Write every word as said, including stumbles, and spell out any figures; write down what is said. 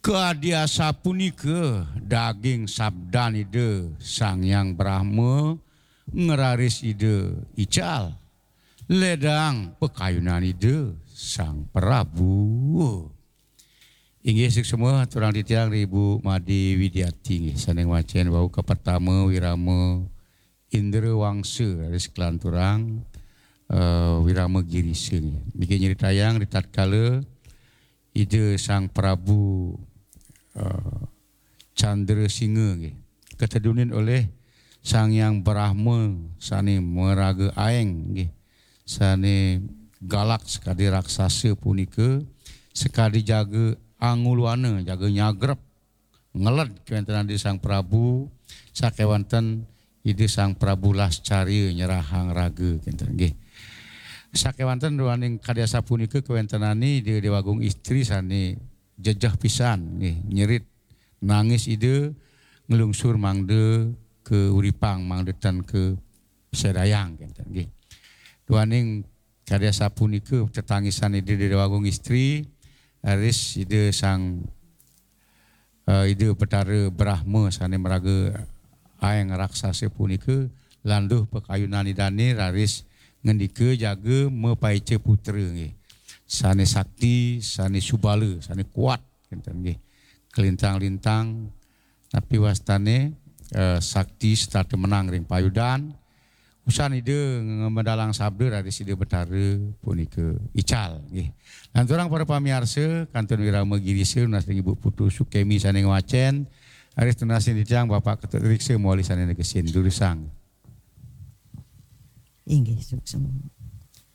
Kadi asapunika daging sabdan Ida Sang Hyang Brahma ngraris Ida ical, ledang pakayunan Ida Sang Prabu. Inggih, suksma aturang titiang ring Ibu Made Widiati nggih, sané ngwacén wau kapertama wirama Indrawangsa, raris kalanturang, eh, wirama Girisa nggih. Niki nyritayang ritatkala Ida Sang Prabu, eh, Candrasinga nggih, katedunin olih Sang Hyang Brahma sané maraga aéng nggih, sané galak sakadi raksasa punika, sakadi jaga anguluana, jaga nyagrep, ngeled kawéntenan Ida Sang Prabu, sakéwanten Ida Sang Prabu Lascarya nyerahang raga kénten nggih. Sakéwanten duaning kadi asapunika kawéntenané Ida Déwagung Istri sané jejeh pisan nggih, nyerit nangis Ida nglungsur mangda kauripang, mangda ten kasédayang kénten nggih. Duaning kadi asapunika tetangisan Ida Déwagung Istri, raris Ida Sang, eh, Ida Betara Brahma sané maraga aéng raksasa punika landuh pakayunan Idané raris ngandika jaga mapaica putra nggih. Sané sakti, sané subala, sané kuat kénten nggih. Kalintang-lintang napi wastané, eh, sakti setata menang ring payudan. Usan Ida ngamedalang sabda raris Ida Betara punika ical nggih. Lanturang para pamiarsa, kantun wirama Girisa nunas ring Ibu Putu Sukemi sané ngwacén, raris nunas ring titiang Bapak Ketut Riksa mawali sané negesin durusang. Inggih, suksma.